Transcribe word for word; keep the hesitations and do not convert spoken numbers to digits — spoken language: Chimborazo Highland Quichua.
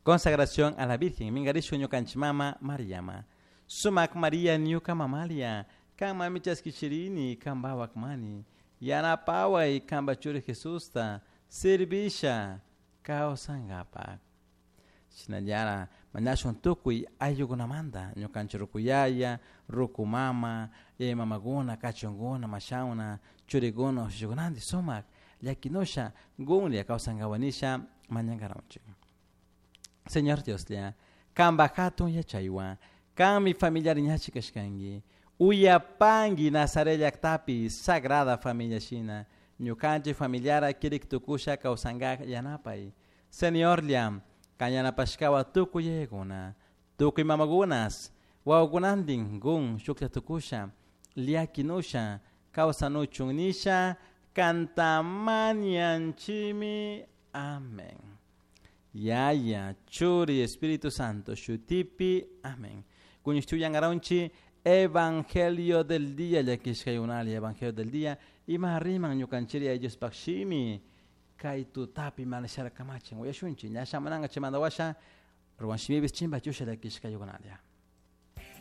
Consagración a la Virgen, mingarishun ñukanchik mama Mariama. Sumak Maria ñuka mamalia, kan mami chaskichirini, kan bawak mani. Yanapaway kanpa churi Jesusta, servisha kawsankapak. Shinallara mañashun tukuy ayllukunamanta ñukanchik rukuyaya, ruku mama, yaya mamakuna, kachunkuna, mashawna, churikuna, ushushikunanti sumak llakinusha gunlla kawsankapak nisha mañankaranchik. Señor Dioslla, kanpak hatun yachaywan, kanmi familiar ñachi kashkanki, uyapanki Nazaret llaktapi Sagrada Familia shina, ñukanchik familiara kirik tukusha kawsankak yanapay. Señorlla, kan yanapashkawan tukuy yayakuna, tukuy mamakunas, wawakunantin gun shuklla tukusha, llakinusha, kawsanuchun nisha, kanta mañanchimi. Amén. Yaya, Churi, Espíritu Santo, shutipi, amén. Kuñishtuyangaronchi, Evangelio del día, llakishkayunali, Evangelio del día, ima riman ñukanchiri ellos pakshimi, kay tutapi manashara kamachin, uyashunchi, ñasha mananga chimanda washa, ruwan shimibis chimba chusha llakishkayunalia.